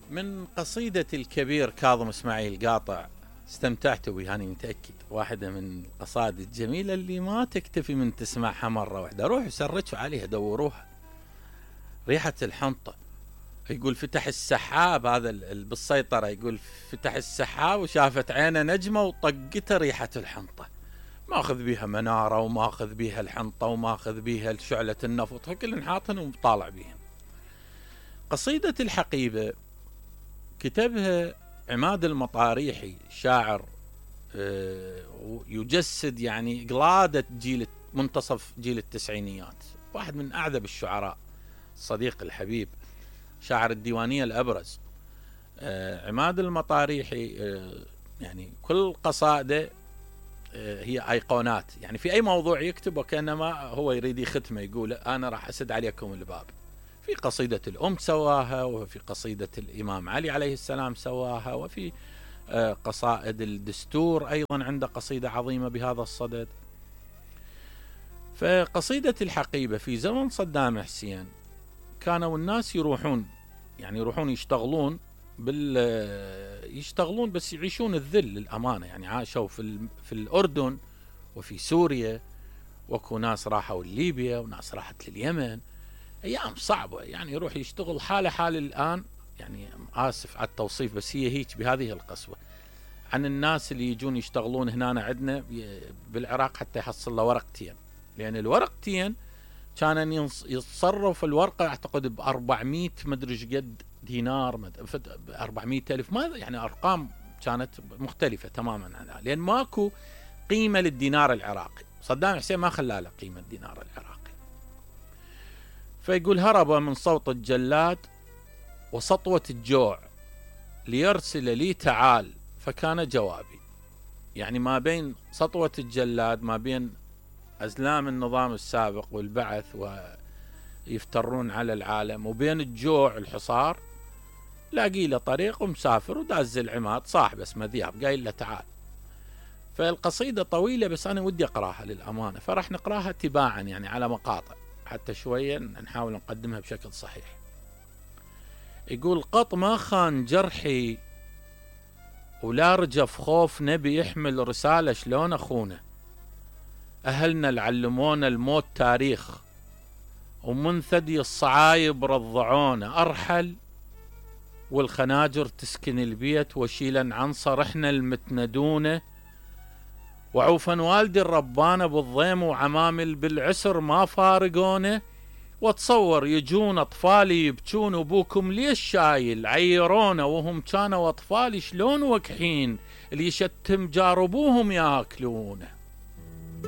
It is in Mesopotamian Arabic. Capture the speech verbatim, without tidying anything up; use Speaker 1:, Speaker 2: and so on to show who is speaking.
Speaker 1: من قصيدة الكبير كاظم اسماعيل قاطع، استمتعت بها أنا متأكد، واحدة من القصائد الجميلة اللي ما تكتفي من تسمعها مرة واحدة، روحوا سرجوا عليها دوروها. ريحة الحنطة، يقول فتح السحاب، هذا بالسيطرة، يقول فتح السحاب وشافت عينه نجمة وطقته ريحة الحنطة، ماخذ بيها منارة وماخذ بيها الحنطة وماخذ بيها شعلة النفط، كل حاطن وطالع بيها. قصيدة الحقيبة كتبها عماد المطاريحي، شاعر يجسد يعني قلادة جيل منتصف جيل التسعينيات، واحد من أعذب الشعراء، الصديق الحبيب، شاعر الديوانية الأبرز. عماد المطاريحي يعني كل قصائده هي أيقونات، يعني في أي موضوع يكتب وكأنما هو يريد يختمه، يقول أنا راح أسد عليكم الباب. في قصيدة الأم سواها، وفي قصيدة الإمام علي عليه السلام سواها، وفي قصائد الدستور أيضا عنده قصيدة عظيمة بهذا الصدد. فقصيدة الحقيبة في زمن صدام حسين كانوا الناس يروحون يعني يروحون يشتغلون بال يشتغلون بس يعيشون الذل للأمانة، يعني عاشوا في في الأردن وفي سوريا، وكو ناس راحوا لليبيا وناس راحت لليمن، أيام صعبة، يعني يروح يشتغل حالة حال الآن، يعني آسف على التوصيف بس هي هيك بهذه القسوة، عن الناس اللي يجون يشتغلون هنا عندنا بالعراق حتى يحصل له ورقتين، لأن الورقتين كان يتصرف الورقة أعتقد بأربعمية مدري ايش قد دينار، أربعمية ألف، ما يعني أرقام كانت مختلفة تماما عنها، لأن ماكو قيمة للدينار العراقي، صدام حسين ما خلى له قيمة الدينار العراقي. فيقول هرب من صوت الجلاد وسطوة الجوع ليرسل لي تعال فكان جوابي، يعني ما بين سطوة الجلاد، ما بين أزلام النظام السابق والبعث ويفترون على العالم، وبين الجوع الحصار، لاقي له طريق ومسافر وداز العماد صاحب اسمه ذياب قايل له تعال. فالقصيدة طويلة بس أنا ودي أقراها للأمانة، فراح نقراها تباعا يعني على مقاطع حتى شوية نحاول نقدمها بشكل صحيح. يقول قط ما خان جرحي ولا رجف خوف نبي يحمل رسالة شلون أخونه، أهلنا العلمونا الموت تاريخ ومن ثدي الصعايب رضعونا، أرحل والخناجر تسكن البيت وشيلا عنصر احنا المتندونه، وعوفا والدي الربانة بالضيم وعمامل بالعسر ما فارقونه، واتصور يجون أطفالي يبكون أبوكم ليش شايل عيرونا، وهم كانوا أطفالي شلون وكحين اللي يشتم جاربوهم ياكلونه.